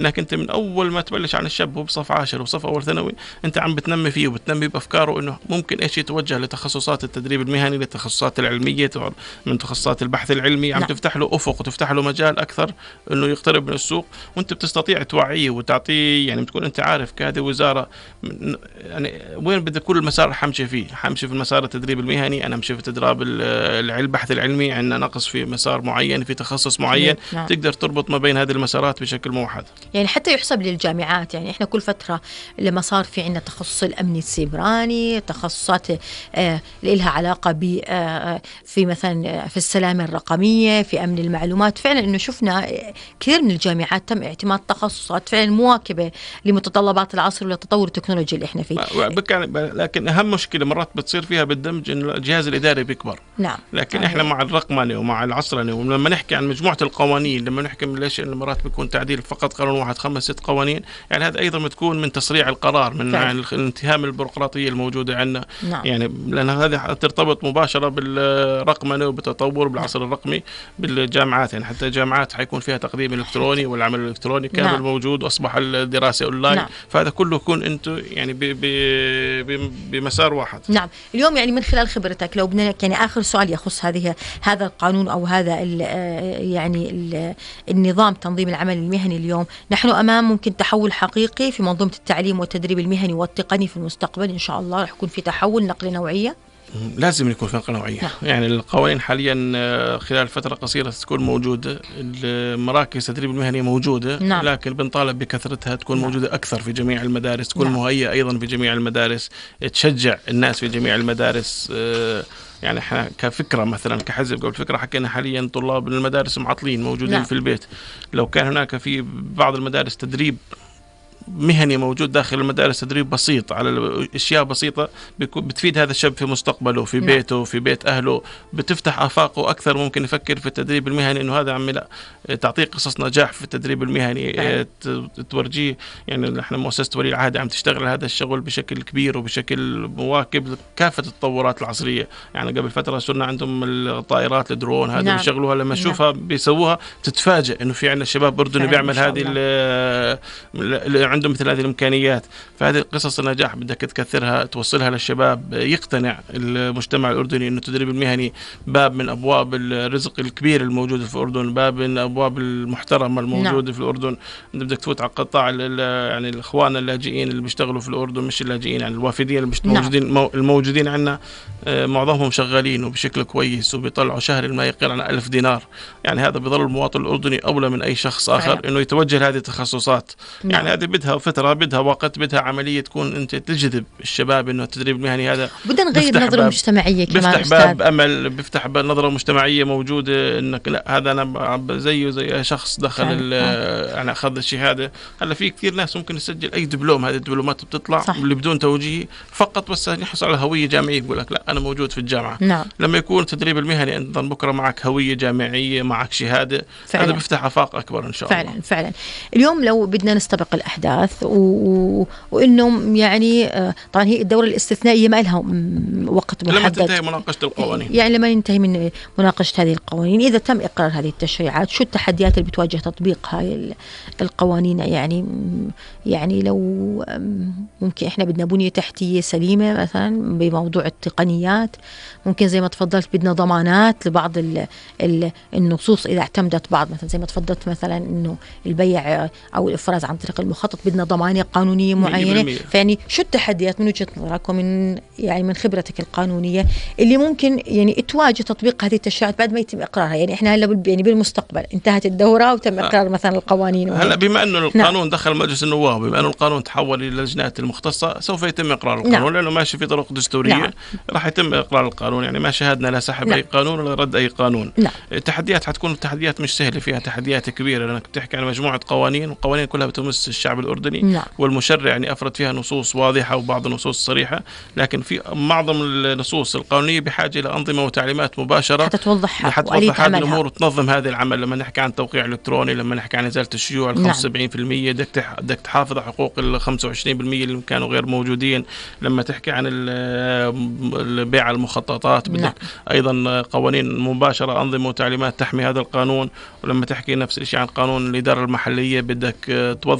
انك انت من اول ما تبلش عن الشاب وبصف 10 وصف اول ثانوي انت عم بتنمي فيه وبتنمي بافكاره انه ممكن ايش يتوجه لتخصصات التدريب المهني، للتخصصات العلميه، من تخصصات البحث العلمي، عم تفتح له افق وتفتح له مجال اكثر انه يقترب من السوق، وانت بتستطيع توعيه وتعطيه. يعني بتكون انت عارف كهذه وزاره يعني وين بدي كل المسار حمشي فيه، حمشي في المسار التدريب المهني، انا امشي في تدريب البحث العلمي، عندنا نقص في مسار معين في تخصص معين. تقدر تربط ما بين هذه المسارات بشكل موحد. يعني حتى يحسب للجامعات، يعني احنا كل فتره لما صار في عندنا تخصص الامن السيبراني، تخصصات لها علاقه ب في مثلا في السلامه الرقميه، في امن المعلومات، فعلا انه شفنا كثير من الجامعات تم اعتماد تخصصات فعلا مواكبه لمتطلبات العصر وللتطور التكنولوجي اللي احنا فيه. لكن اهم مشكله مرات بتصير فيها بالدمج انه الجهاز الاداري بيكبر. نعم. لكن احنا مع الرقمنه ومع العصرنه، ولما نحكي عن مجموعه القوانين، لما نحكي ليش مرات بيكون تعديل فقط قانون واحد 5-6 قوانين، يعني هذا ايضا بتكون من تسريع القرار، من الانتهام البيروقراطيه الموجوده عندنا. نعم. يعني لان هذه ترتبط مباشره بالرقمنه وبالتطور بالعصر الرقمي بالجامعات. يعني حتى الجامعات حيكون فيها تقديم الكتروني والعمل الالكتروني كامل موجود، واصبح الدراسه اونلاين. فهذا كله يكون انتم يعني بمسار واحد. نعم. اليوم يعني من خلال خبرتك لو بدنا يعني اخر سؤال يخص هذا القانون او هذا يعني النظام تنظيم العمل المهني، اليوم نحن امام ممكن تحول حقيقي في منظومه التعليم والتدريب المهني والتقني في المستقبل. ان شاء الله رح يكون في تحول نقله نوعيه. لازم يكون في نقله نوعيه. يعني القوانين حاليا خلال فتره قصيره تكون موجوده، المراكز التدريب المهني موجوده. لكن بنطالب بكثرتها تكون موجوده اكثر في جميع المدارس، تكون مهيئه ايضا في جميع المدارس، تشجع الناس في جميع المدارس. يعني احنا كفكره مثلا كحزب قبل فكره حكينا حاليا طلاب المدارس معطلين موجودين في البيت. لو كان هناك في بعض المدارس تدريب مهني موجود داخل المدارس، تدريب بسيط على اشياء بسيطه، بتفيد هذا الشاب في مستقبله في بيته في بيت اهله، بتفتح افاقه اكثر. ممكن يفكر في التدريب المهني انه هذا عمي لا تعطيه قصص نجاح في التدريب المهني، تورجيه. يعني احنا مؤسسه ولي العهد عم تشتغل هذا الشغل بشكل كبير وبشكل مواكب كافه التطورات العصريه. يعني قبل فتره صرنا عندهم الطائرات الدرون هذه بيشغلوها، لما تشوفها بيسووها تتفاجئ انه في عندنا شباب اردني بيعمل هذه عندهم مثل هذه الإمكانيات. فهذه قصص النجاح بدك تكثرها، توصلها للشباب، يقتنع المجتمع الأردني إنه التدريب المهني باب من أبواب الرزق الكبير الموجود في الأردن، باب من أبواب المحترمة الموجودة في الأردن. بدك تفوت على قطاع يعني الإخوان اللاجئين اللي بيشتغلوا في الأردن، مش اللاجئين يعني الوافدين الموجودين عندنا، معظمهم شغالين وبشكل كويس وبيطلعوا شهر ما يقل عن 1000 دينار. يعني هذا بيظل المواطن الأردني أولى من أي شخص آخر إنه يتوجه لهذه التخصصات. يعني هذه بدها فترة، بدها وقت، بدها عملية تكون أنت تجذب الشباب إنه التدريب المهني هذا. بدنا نغير نظرة مجتمعية كمان، بيفتح باب أمل، بيفتح باب نظرة مجتمعية موجودة إنك لا هذا أنا زي شخص دخل أنا أخذ الشهادة. هلا في كثير ناس ممكن يسجل أي دبلوم، هذه الدبلومات بتطلع اللي بدون توجيه فقط، بس يحصل على هوية جامعية، بقول لك لا أنا موجود في الجامعة. لما يكون التدريب المهني أنت بكرة معك هوية جامعية، معك شهادة، هذا بيفتح آفاق أكبر إن شاء الله. فعلا اليوم لو بدنا نستبق الأحداث وإنه يعني طبعا هي الدورة الاستثنائية ما لها وقت محدد، لما تنتهي مناقشة القوانين، يعني لما ينتهي من مناقشة هذه القوانين، إذا تم إقرار هذه التشريعات شو التحديات اللي بتواجه تطبيق هاي القوانين؟ يعني لو ممكن إحنا بدنا بنية تحتية سليمة مثلا بموضوع التقنيات، ممكن زي ما تفضلت بدنا ضمانات لبعض النصوص إذا اعتمدت بعض، مثلا زي ما تفضلت مثلا إنه البيع أو الإفراز عن طريق المخطط بدنا ضمانة قانونية معينة. فيعني شو التحديات من وجهة نظرك ومن يعني من خبرتك القانونية اللي ممكن يعني تواجه تطبيق هذه التشريعات بعد ما يتم إقرارها؟ يعني إحنا هلا يعني بالمستقبل انتهت الدورة وتم إقرار مثلا القوانين هلا بما إنه القانون دخل مجلس النواب، بما إنه القانون تحول إلى اللجنات المختصة، سوف يتم إقرار القانون لأنه ماشي في طرق دستورية. راح يتم إقرار القانون، يعني ما شاهدنا لا سحب أي قانون ولا رد أي قانون. التحديات حتكون تحديات مش سهلة، فيها تحديات كبيرة لأنك بتحكي عن مجموعة قوانين، والقوانين كلها بتمس الشعب الأردني. نعم. والمشرع يعني أفرد فيها نصوص واضحة وبعض النصوص صريحة، لكن في معظم النصوص القانونية بحاجة إلى أنظمة وتعليمات مباشرة حتى توضحها هذه الأمور وتنظم هذا العمل. لما نحكي عن توقيع إلكتروني، لما نحكي عن إزالة الشيوع 75%، بدك تحافظ على حقوق 25% اللي كانوا غير موجودين. لما تحكي عن البيع المخططات بدك أيضا قوانين مباشرة، أنظمة وتعليمات تحمي هذا القانون. ولما تحكي نفس الشيء عن قانون الإدارة المحلية بدك توظف